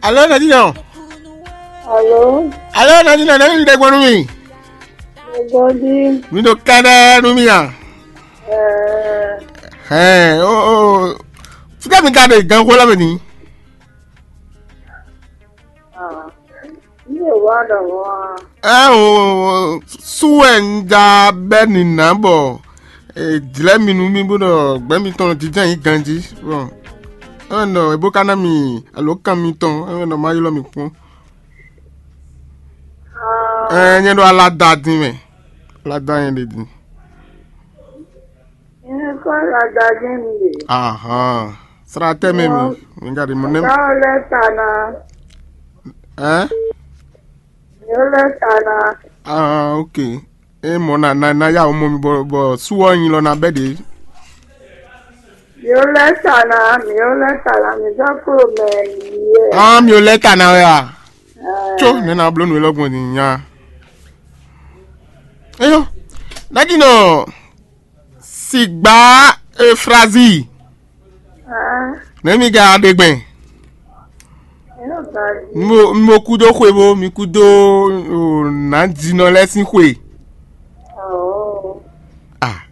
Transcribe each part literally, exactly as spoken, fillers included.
Alo, Nadina. Alo. Alo, Nadina, nɛ̌ mi ɖe gbɔn nú mì? Gbɔn jí. Mi ɖo kɛ́ɖɛ́ nú mì a? Ɛɛ. Hɛn, o o. Fíkɛ mi ka ɖe gǎnxó lɛ́ɛ mɛ ní? Ah, ní è wá ɖɔ mɔ̌ a? Ɛ o, sú wɛ un ja bɛ́ nǐná bɔ è jlɛ́ mi nú mì bó ɖɔ gbɛ̌ mitɔn jínjɔ́n nyí ganjí. Bɔn é wɛ ɖɔ è bó ka ná mi alǒkan mitɔn, é wɛ ɖɔ má ylɔ́ mi kpɔ́n. Ɛ nyɛ ɖo alada din mɛ. Alada nyɛ ɖe din. Nyɛ kɔ alada din mi ɖe. Ahan. Sra tɛ́ mɛ mi. Mi ka ɖi mɔ nɛ́. Ka lɛ ta na. Ɛ? Mi lɛ ta na. Ah, ok. E mɔ na na na ya mɔ mi bɔ bɔ suwɔ nyi lɔ na bɛ de. Mi lɛ ta na, mi lɛ ta na, mi sɔ klo mɛ yi yɛ. Ah, mi lɛ ta na wɛ a? Tso ne na blo nu lɔ gbɔn ni nya. Eyo, na di nɔ. Sigba Efrazi. Ah. Nɛ̌ mi ka ɖe gbɛn? Eno ba di. Mo mo kú dó xwe bó mi kú dó o, nǎjínɔ lɛ́ɛ sín xwe. Oh. Ah.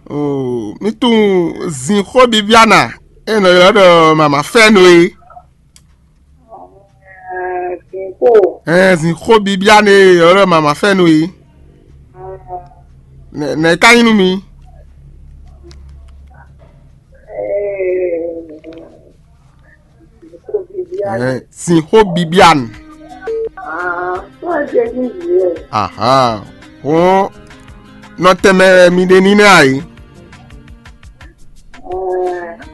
O mi tunwun Zinxó Bibiana e nɔ ylɔ́ ɖɔ mama fɛ́nu é. Zinxó. Ɛɛ, Zinxó Bibiane ɔlɔ mama fɛ́nu yi. Nɛ nɛ ka nyí nú mi. Ɛɛ, Zinxó Bibiane. Ahan. Hɔn nɔ tɛmɛ mi ɖe ní nɛ ayi.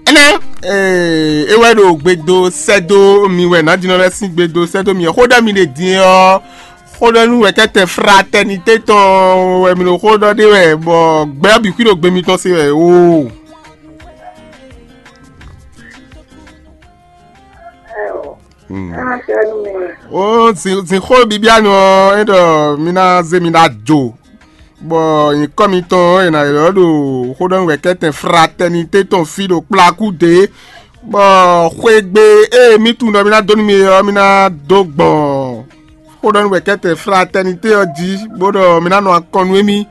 Énɛ́, ee, é wɛ ɖo gbe dó sɛ́ dó mi wɛ nǎjínɔ lɛ́ɛ sín gbe dó sɛ́ dó mi. Xó ɖɔ mi ɖe din ɔ́, xó ɖɔ nú wɛ̌kɛ́tɛn fratɛnité tɔn wɛ mi ɖo xó ɖɔ ɖe wɛ, bɔ gbɛ ɔ́ bǐ xwí ɖo gbe mitɔn se wɛ o. Hmm. Ó, zin zin xó bibianu ɔ́, é ɖɔ mi ná zé mi ɖó ajo, bɔ nyǐkɔ mitɔn ɔ́, è nǎ ylɔ́ ɖo xóɖɔ́núwɛ̌kɛ́tɛn fratɛnité tɔn fí ɖo kplakú dě, bɔ xwegbe e mǐ tunwun ɖɔ mi ná dó nú mi é ɔ́, mi ná dó gbɔn xóɖɔ́núwɛ̌kɛ́tɛn fratɛnité ɔ́ jí, bó ɖɔ mi ná nɔ akɔn nú émí.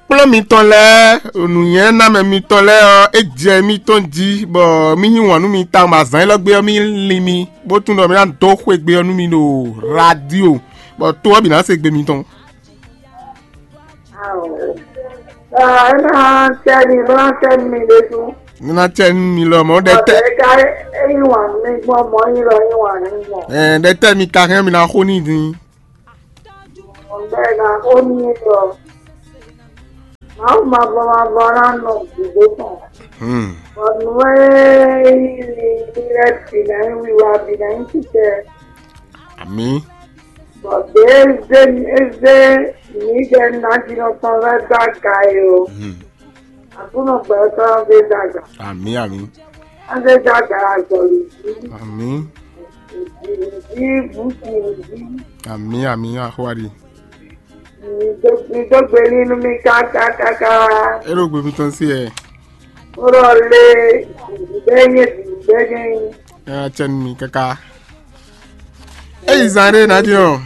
Kplɔ́n mitɔn lɛ́ɛ, nǔnywɛ́namɛ mitɔn lɛ́ɛ ɔ́, é jɛ émítɔn jí, bɔ mì yí wǎn nú mi tawun, bɔ azǎn élɔ́ gbe ɔ́, mì lin mi, bó tunwun ɖɔ mì ná dó xwegbe ɔ́ nú mi ɖo radio, bɔ to ɔ́ bǐ ná se gbe mitɔn. Ao. É ná cɛ mi, bó ná cɛ mi ɖésú. Ní ná cɛ nú mi lɔ mɔ̌ ɖɛ tɛ. Ọ̀dẹ̀ ká yí wà mí gbọ́n mọ́ yín lọ yín wà ní mọ̀. Ɛ ɖɛ tɛ mi ka hɛn mi ná xó ní din. Ọ̀dẹ̀ ká ó ní lọ. Màá ma bọ́ ma bọ́ ná nọ gbogbo tán. Hmm. Ọ̀nù ẹ̀ yí ni ilẹ̀ bìnà yín wíwá bìnà yín ti tẹ. Àmì. Bɔ̀dé zé zé mi jɛ najinɔ tɔn lɛ dó aga yi o. Hmm. Akunɔ gbɛtɔ zé dó aga. Àmì àmì. Azé dó aga azɔli jí. Àmì. Ìdí bùkì jí. Àmì àmì àhwádìí. Mi dó gbe nínú mi kákákáká. É ɖo gbe mitɔn sí ɛ. Ó lɔ lé bɛ́nyɛ bɛ́nyɛ. Ɛ atsɛ nú mi káká. Eyi zan ɖé ná dín ɔ.